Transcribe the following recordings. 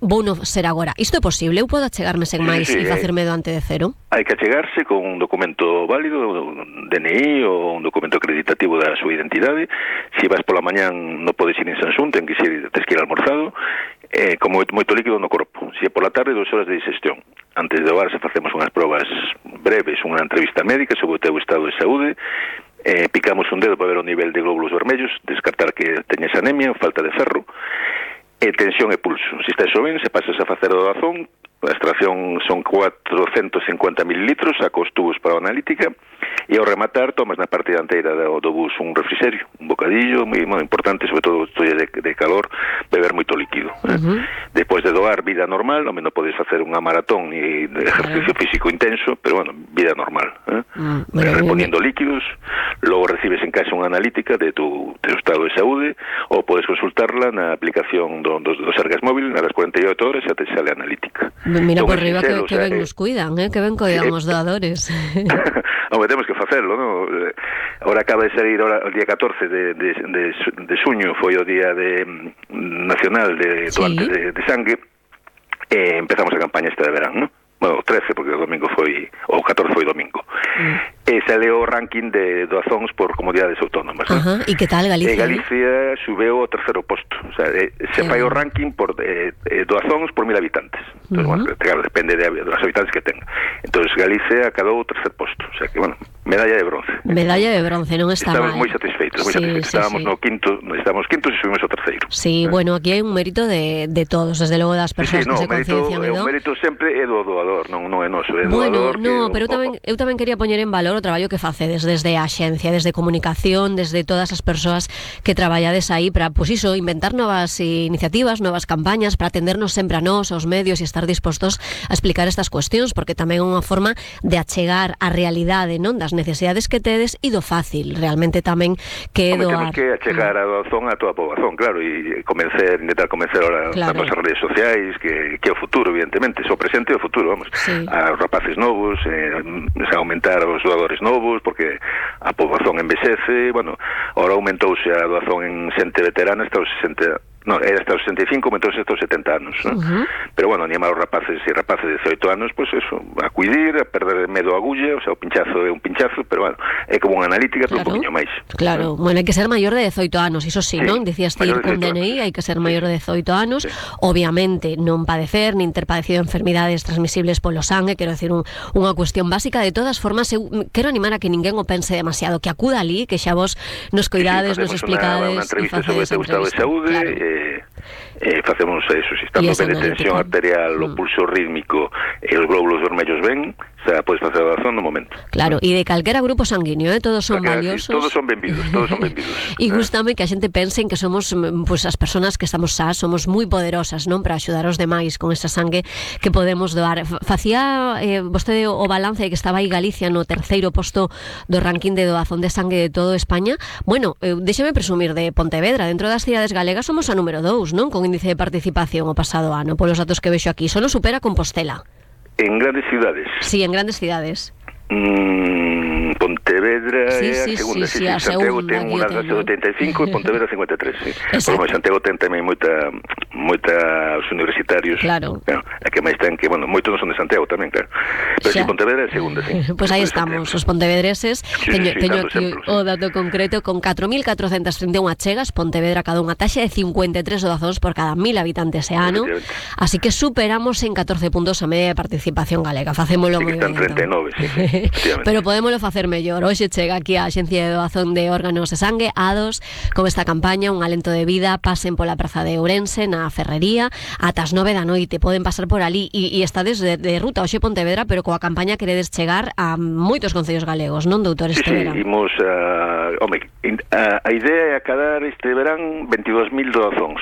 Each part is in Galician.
vou non ser agora. Isto é posible? Eu podo achegarme sen máis e facerme do ante de cero? Hai que achegarse con un documento válido, un DNI ou un documento acreditativo da súa identidade. Se vas pola mañán non podes ir en Sansún, tens que ir almorzado, como moito líquido no corpo. Se é pola tarde, 2 horas de digestión. Antes de doarse facemos unhas probas breves, unha entrevista médica sobre o teu estado de saúde, picamos un dedo para ver o nivel de glóbulos vermellos, descartar que teñes anemia, falta de ferro, tensión e pulso. Se estás ben, se pasas a facer a doazón, a extracción son 450 mililitros, saco os tubos para a analítica, e ao rematar tomas na parte dianteira do bus un refrigerio, un bocadillo, moi importante, sobre todo de calor, beber moito líquido. Despois de doar, vida normal, non podes facer unha maratón ni exercicio físico intenso, pero bueno, vida normal. Reponiendo líquidos, logo recibes en casa unha analítica de tu estado de saúde, ou podes consultarla na aplicación do Sergas Móvil, nas 48 horas xa te sale a analítica. Mira por riba que ben nos cuidan, que ben cuidan os doadores. Home, temos que facelo, non? Ahora acaba de sair o día 14 de xuño, foi o día nacional de doantes de sangue, e empezamos a campaña esta de verán, non? Bueno, o 13, porque o domingo foi, o 14 foi domingo. E sale o ranking de doazóns por comunidades autónomas. E que tal Galicia? Galicia subeu ao terceiro posto. O sea, se fai o ranking por doazóns por 1000 habitantes. Entón, bueno, claro, depende dos habitantes que tenga. Entón, Galicia acadou o terceiro posto. O sea que, bueno, medalla de bronce. Medalla de bronce, non está mal. Estamos moi satisfeitos, Estábamos no quinto, estamos quintos e subimos ao terceiro. Sí, bueno, aquí hai un mérito de todos, desde logo das persoas que se conciencian. O mérito sempre é do doador, non é noso, é do doador. Bueno, pero eu tamén quería poñer en valor o traballo que facedes desde a axencia, desde comunicación, desde todas as persoas que traballades aí para, pois iso, inventar novas iniciativas, novas campañas, para atendernos sempre a nós, aos medios, e estar dispostos a explicar estas cuestións, porque tamén é unha forma de achegar a realidade, non, das necesidades que tedes e do fácil, realmente tamén que é doar. Temos que achegar a doazón a toda a poboación, claro, e intentar convencer ahora nas nosas redes sociais que é o futuro, evidentemente, o presente e o futuro, vamos. A rapaces novos, aumentar os doadores novos, porque a poboación envexece, bueno, ahora aumentouse a doazón en xente veterana hasta os 60, era hasta os 65, aumentouse hasta os 70 anos, pero bueno, animar os rapaces e rapaces de 18 anos, pois eso, a cuidir, a perder medo a agulla, o sea, o pinchazo é un pinchazo, pero bueno, é como unha analítica, pero un poquinho máis. Claro, bueno, hai que ser maior de 18 anos, iso sí, non? Dicías ir con DNI, hai que ser maior de 18 anos, obviamente non padecer, nin ter padecido enfermidades transmisibles polo sangue, quero decir, unha cuestión básica. De todas formas, eu quero animar a que ninguén o pense demasiado, que acuda ali, que xa vos nos cuidades, nos explicades, unha entrevista sobre o teu estado de saúde, facemos eso, se estamos ben de tensión arterial, o pulso rítmico e os glóbulos vermellos ben, xa podes facer a doazón no momento. Claro, e de calquera grupo sanguíneo, todos son valiosos. Todos son benvidos. E gustame que a xente pense en que somos, pues, as persoas que estamos sás, somos moi poderosas, non, para axudar os demais con esa sangue que podemos doar. Facía vostede o balance de que estaba aí Galicia no terceiro posto do ranking de doazón de sangue de todo España. Bueno, déxeme presumir de Pontevedra, dentro das cidades galegas somos a número 2, non, con índice de participación o pasado ano, polos datos que vexo aquí. Só nos supera Compostela. En grandes cidades? Sí, en grandes cidades. Pontevedra é a segunda, Santiago ten unha de 75 e Pontevedra 53, Bueno, Santiago ten tamén moitos universitarios, claro, a que máis ten, que, bueno, moitos non son de Santiago tamén, claro, pero si Pontevedra é a segunda, Pois aí estamos, os pontevedreses, teño aquí o dato concreto, con 4.431 achegas, Pontevedra cada unha taxa de 53 doazóns por cada 1.000 habitantes e ano, así que superamos en 14 puntos a media de participación galega, facémolo moi ben. Están 39, pero podémolo facer mellor. Hoxe chega aquí a Axencia de Doazón de Órganos e Sangue, A2, con esta campaña, un alento de vida. Pasen pola praza de Ourense, na Ferrería, ata as 9 da noite, poden pasar por ali e estades de ruta hoxe Pontevedra, pero coa campaña queredes chegar a moitos concellos galegos, non, doutor, este verán? Imos a idea é acadar este verán 22.000 doazóns.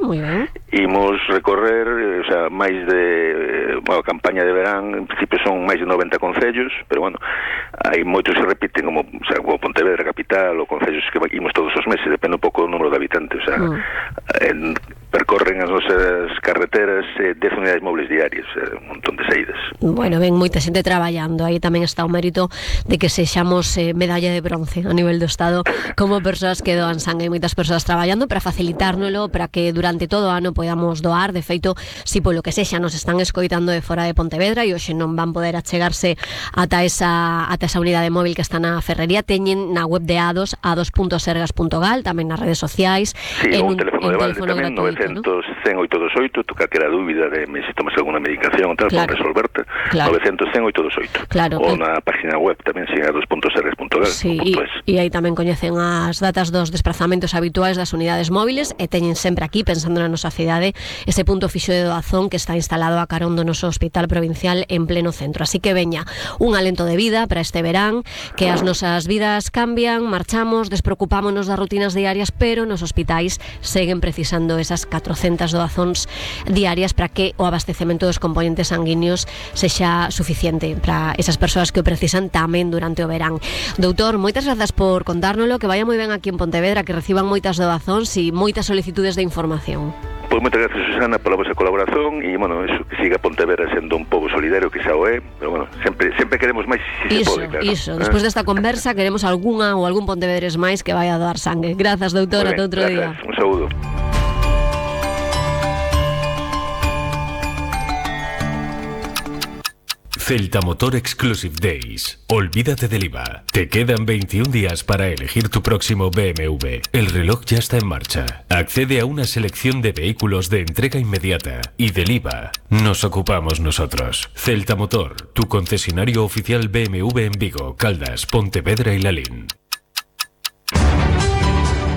Moi ben. Imos recorrer, o sea, máis de a campaña de verán, en principio son máis de 90 concellos, pero bueno, hai moitos que repiten, como, o sea, como Pontevedra capital, ou concellos que imos todos os meses, depende un pouco do número de habitantes, o sea, percorren as nosas carreteras 10 unidades móviles diarias, un montón de saídas. Bueno, ven moita xente traballando, aí tamén está o mérito de que sexamos medalla de bronce a nivel do Estado como persoas que doan sangue. Hai moitas persoas traballando para facilitárnolo, para que durante todo o ano podamos doar. De feito, si polo que sexa nos están escoitando de fora de Pontevedra e hoxe non van poder achegarse ata esa unidade móvil que está na Ferrería, teñen na web de A2, a2.sergas.gal, tamén nas redes sociais. Sí, un teléfono de balde tamén, 900-100-828, tu calquera dúbida de se tomas alguna medicación tal, claro, para resolverte, claro. 900-100-828. Claro, ou na página web tamén, a2.sergas.gal. Sí, e aí tamén coñecen as datas dos desplazamentos habituais das unidades móviles e teñen sempre aquí, pensando na nosa cidade, ese punto fixo de doazón que está instalado a carón do noso hospital provincial en pleno centro. Así que veña, un alento de vida para este verán, que as nosas vidas cambian, marchamos, despreocupámonos das rutinas diarias, pero nos hospitais seguen precisando esas 400 doazóns diarias para que o abastecemento dos componentes sanguíneos sexa suficiente para esas persoas que o precisan tamén durante o verán. Doutor, moitas grazas por contárnolo, que vaya moi ben aquí en Pontevedra, que reciban moitas doazóns e moitas solicitudes de información. Pois moitas gracias, Susana, pola vosa colaboración e, bueno, eso, que siga Pontevedra sendo un pobo solidario, que xa o é, pero, bueno, sempre queremos máis se pode, claro. Iso, despois desta conversa queremos algunha ou algún pontevedres máis que vai a doar sangue. Grazas, doutora, ata outro día. Un saúdo. Celta Motor Exclusive Days. Olvídate del IVA. Te quedan 21 días para elegir tu próximo BMW. El reloj ya está en marcha. Accede a una selección de vehículos de entrega inmediata. Y del IVA nos ocupamos nosotros. Celta Motor, tu concesionario oficial BMW en Vigo, Caldas, Pontevedra y Lalín.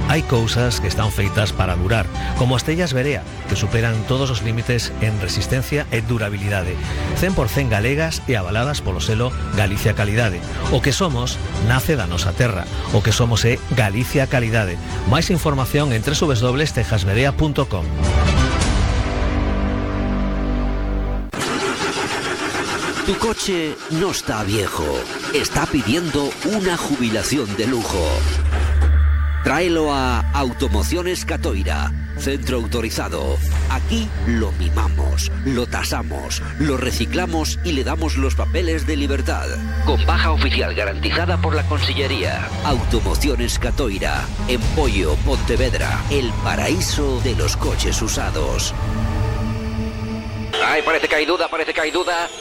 Hai cousas que están feitas para durar, como as tellas Verea, que superan todos os límites en resistencia e durabilidade, 100% galegas e avaladas polo selo Galicia Calidade. O que somos nace da nosa terra, o que somos é Galicia Calidade. Máis información en www.tejasverea.com. Tu coche no está viejo, está pidiendo una jubilación de lujo. Tráelo a Automociones Catoira, centro autorizado. Aquí lo mimamos, lo tasamos, lo reciclamos y le damos los papeles de libertad. Con baja oficial garantizada por la Consellería. Automociones Catoira, en Pollo, Pontevedra, el paraíso de los coches usados. Ay, parece que hay duda.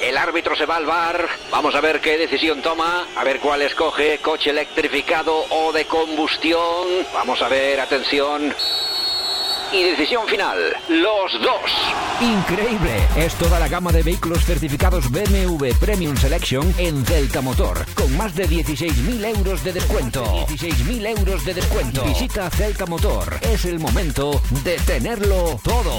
El árbitro se va al VAR. Vamos a ver qué decisión toma. A ver cuál escoge, coche electrificado o de combustión. Vamos a ver, atención. Y decisión final, los dos. Increíble, es toda la gama de vehículos certificados BMW Premium Selection en Celta Motor, con más de 16.000 euros de descuento. 16.000 euros de descuento. Visita Celta Motor, es el momento de tenerlo todo.